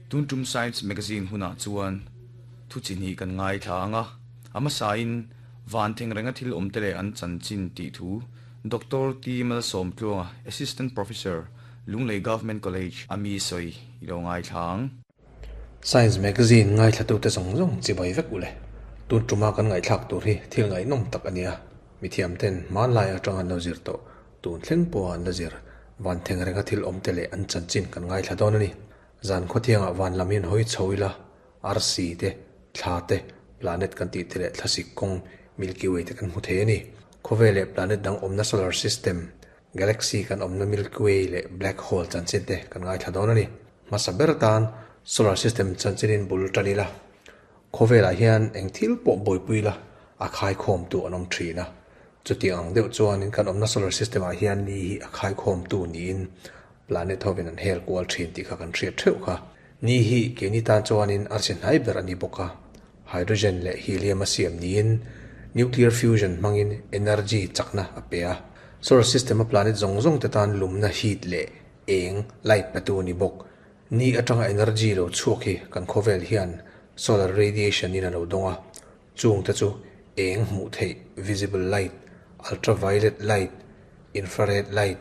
Tun tum Science Magazine hunah chuan thu chi hnih kan ngaithla ang a, a hmasain van theng renga thil awm te leh an chanchin tih thu Doctor T Malsawmtluanga, Assistant Professor, Lunglei Government College a mi sawi i lo ngaithla ang. Science Magazine ngaithlatute zawng zawng chibai vek ule. Tun tuma kan ngaihthlak tur hi thil ngaihnawm tak a nia. Mithiamten hmanlai atanga an lo zir tawh, tun thleng pawha an la zir, van theng renga thil awmte leh an chanchin kan ngaithla dawn a ni. Zan khawthiangah van lam hian hawi chho ila, arsi te, thla te, planet kan tih te leh thlasik kawng Milky Way te kan hmu thei a ni. Khawvel leh planet dang awmna solar system, galaxy kan awmna Milky Way leh black hole chanchin te kan ngaithla dawn a ni. Hmasa ber atan solar system chanchinin bul tan ila, khawvelah hian eng thil pawh buaipui ila a khaikhawmtu an awm thin a. Chutiang ang deuh chuanin kan awmna solar system ah hian ni hi a khaikhawmtu niin planet hovin an hel kual thin tih kha kan hriat theuh kha. Ni hi keini tan chuanin arsi hnai ber a ni bawk a, hydrogen leh helium a siam niin nuclear fusion hmangin energy chakna a pe a. Solar system a planet zawng zawng te tan lumna heat leh eng, light, petu a ni bawk. Ni atanga energy lo chhuak hi kan khawvel hian solar radiation in a lo dawng a, chung te chu eng hmuh theih, visible light, ultraviolet light, infrared light,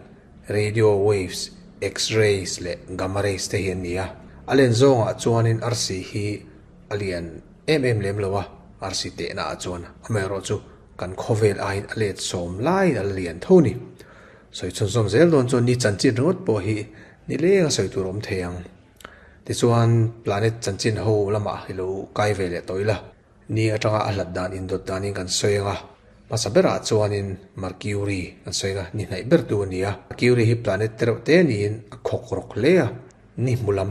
radio waves, X-rays leh gamma rays te hi an ni a. A len zawngah chuanin arsi hi a lian em em lem lo a, arsi tehna ah chuan amaherawhchu kan khawvel aiin a let sawm laiin a la lian tho a ni. Sawi chhunzawm zel dawn chuan ni chanchin ringawt pawh hi ni leng a sawi tur a awm thei ang. Tichuan planet chanchin ho lamah i lo kai ve leh tawh ila, ni atanga a hlat dan indawt danin kan sawi ang a. Hmasa berah chuanin Mercury kan sawi ang a, ni hnaih ber tu a ni a. Mercury hi planet te reuh te niin a khawk rawk hle a, ni hmu lam.